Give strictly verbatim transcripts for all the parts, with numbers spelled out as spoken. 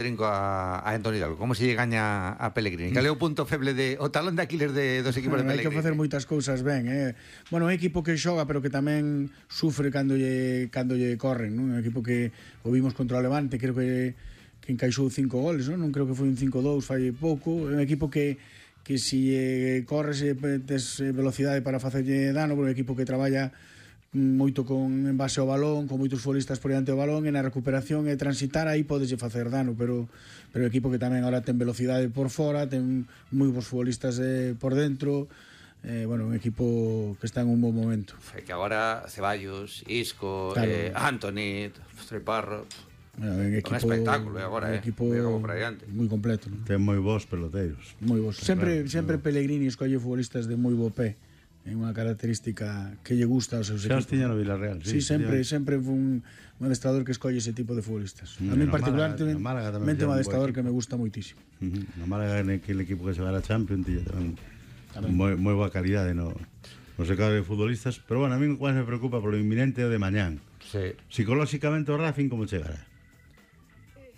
Trinco a, a Antoni Hidalgo, como se lle gaña a Pellegrini? Cal é o punto feble de o talón de Aquiles de, dos equipos de Pellegrini? Hai que facer moitas cousas ben, eh. Bueno, é un equipo que xoga pero que tamén sufre cando lle, cando lle corren, non? Un equipo que o vimos contra o Levante, creo que que encaixou cinco goles, non? Non creo que foi un cinco dous, fai pouco. É un equipo que que si eh, corres e tes velocidade para facerlle dano, pero é un equipo que traballa moito con en base ao balón, con moitos futbolistas por diante do balón, e na recuperación e transitar aí podeslle facer dano, pero pero o equipo que tamén agora ten velocidade por fora, ten moi bons futbolistas eh, por dentro, eh, bueno, un equipo que está en un bon momento. É que agora Ceballos, Isco, claro. eh, Antoni, Treparro, bueno, un, equipo, un espectáculo agora, un eh, equipo moi completo, ¿no? Ten moi bons peloteiros. Moi bons. Sempre claro, sempre Pellegrini escolle futbolistas de moi bo pé. É unha característica que lle gusta aos seus xa equipos. Xa tiña no Villarreal, sí, sí sempre, sempre foi un, un adestrador que escolle ese tipo de futbolistas. Mm, a mí en particular é un adestrador que me gusta moitísimo. Uh -huh. No Málaga, aquele equipo que se va a Champions, tiña tamén moi, moi boa calidade no, no secado de futbolistas, pero bueno, a mí cual me preocupa polo inminente de mañán. Sí. Psicolóxicamente o Racing como chegará?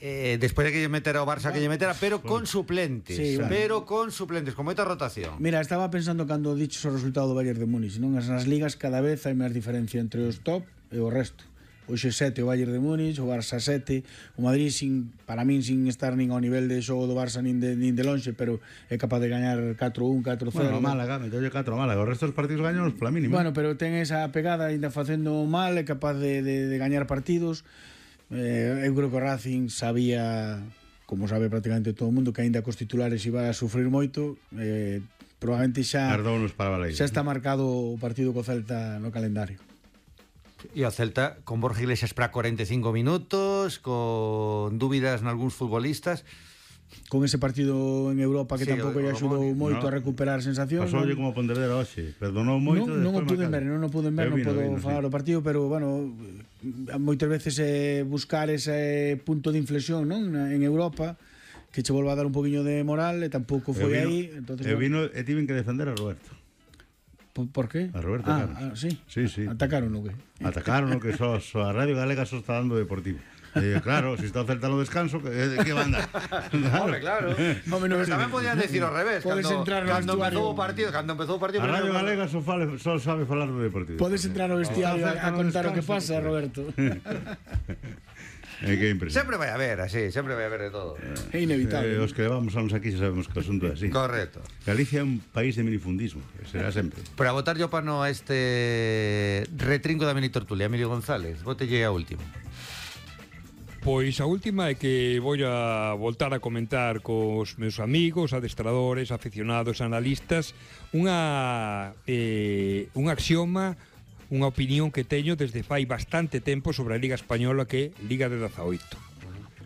Eh, despois de que lle metera o Barça que lle metera, pero con suplentes, sí, bueno. pero con suplentes, con moita rotación. Mira, estaba pensando cando diches o resultado do Bayern de Múnich, non? As nas ligas cada vez hai máis diferencia entre os top e o resto. Hoxe sete o Bayern de Múnich, o Barça sete, o Madrid sin, para min sin estar nin ao nivel de xogo do Barça nin de, nin de lonxe, pero é capaz de gañar catro un, catro cero. Bueno, Málaga, metolle catro Málaga, o resto dos partidos gañan pola mínima. Bueno, pero ten esa pegada, ainda facendo mal, é capaz de, de, de gañar partidos. Eh, eu creo que o Racing sabía, como sabe prácticamente todo o mundo, que aínda cos titulares iba a sufrir moito, eh, probablemente xa xa está marcado o partido co Celta no calendario. E o Celta con Borja Iglesias para cuarenta e cinco minutos, con dúbidas nalgúns futbolistas, con ese partido en Europa que sí, tampouco lle axudou moito no, a recuperar sensacións. Pasoulle como a Pontevedra hoxe, perdonou moito. Non, non o pude ver, non o pude ver, non vino, podo vino, falar sí. do partido, pero bueno, moitas veces eh, buscar ese punto de inflexión, non, en Europa, que che volva a dar un poquinho de moral, e tampouco foi aí. Entonces, e vino e tiven que defender a Roberto. Por, por qué? A Roberto ah, Carlos. Ah, sí. Sí, sí. Atacaron o que? Atacaron o que só so, a Radio Galega só está dando Deportivo. Eh, claro, si está o Celta no descanso, que, que va a andar? Claro. Hombre, claro. Hombre, no, pero tamén podían decir ao revés. Podes cando, entrar no cando empezou o partido, cando empezou o partido. A Radio Galega só, fale, só sabe falar do Deportivo. Podes entrar ao vestiario a, a contar o que pasa, Roberto. É que é impresionante. Sempre vai haber, así, sempre vai haber de todo. É inevitable. Eh, os que levamos anos aquí xa sabemos que o asunto é así. Correcto. Galicia é un país de minifundismo, será sempre. Para botar yo pano a este retrinco da mini tertulia, Emilio González, botelle a último. Pois a última é que vou a voltar a comentar cos meus amigos, adestradores, aficionados, analistas, unha eh, un axioma, unha opinión que teño desde fai bastante tempo sobre a Liga Española, que é Liga de dezaoito.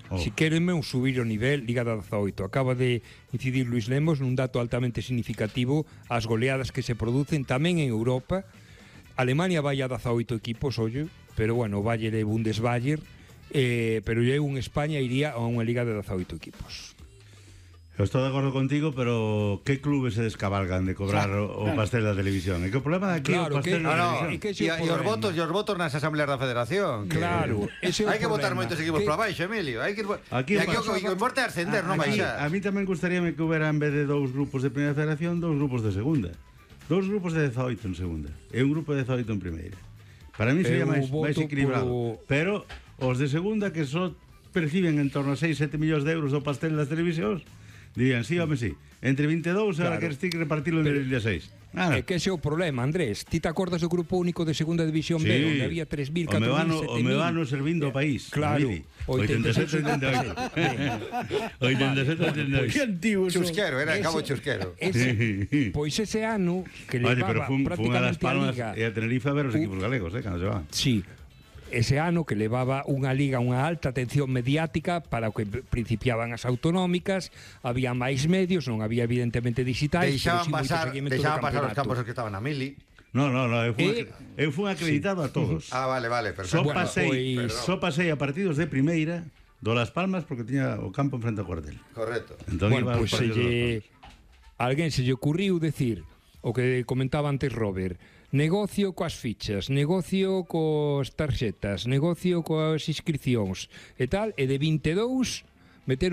Oh. Si querenme un subir o nivel, Liga de dezaoito. Acaba de incidir Luis Lemos nun dato altamente significativo, as goleadas que se producen tamén en Europa. Alemania vai a dezaoito equipos, ollo, pero bueno, Bayer e Bundesbayer, eh, pero eu en España iría a unha Liga de dezaoito equipos. Eu estou de acordo contigo, pero que clubes se descabalgan de cobrar claro, o, o claro. pastel da televisión? É que o problema de aquí claro, o pastel que, da no, televisión. E os votos, e os votos nas asambleas da Federación. Claro, ese é o hai que votar problema. moitos equipos que... para baixo, Emilio. Hai que aquí, e aquí o que importa é ascender, non baixar. A mí tamén gustaríame que houbera, en vez de dous grupos de primeira federación, dous grupos de segunda. Dous grupos de dezaoito en segunda e un grupo de dezaoito en primeira. Para mí sería máis, máis equilibrado. Por... Pero os de segunda, que só perciben en torno a seis, sete millóns de euros do pastel das televisións, dirían, sí, home, sí. Entre vinte e dous, claro. Ahora queres ti que repartilo entre vinte e seis. Ah. É que ese é o problema, Andrés. Ti te acordas do grupo único de segunda división sí. B, onde había tres mil, catro mil, sete mil? O me vano servindo o país. Claro. oitenta e sete, oitenta e oito. oitenta e sete, oitenta e oito. Que antigo son. Chusquero, era cabo chusquero. Ese, pois ese ano que levaba Oye, pero fun, prácticamente fun a, a Liga... e a Tenerife a ver os equipos galegos, eh, cando se van. Sí. Ese ano que levaba unha liga, unha alta atención mediática para o que principiaban as autonómicas, había máis medios, non había evidentemente digitais, deixaban pasar, deixaban pasar os campos que estaban a Mili. No, no, no, eu fui, eh, eu fui acreditado sí. a todos. Ah, vale, vale, Só perfecto. Bueno, pasei, pues... só pasei a partidos de primeira do Las Palmas porque tiña o campo enfrente ao cuartel. Correcto. Entón, bueno, pois pues se lle... alguén se lle ocurriu decir o que comentaba antes Robert, negocio coas fichas, negocio cos tarxetas, negocio coas inscripcións e tal, e de vinte e dous meter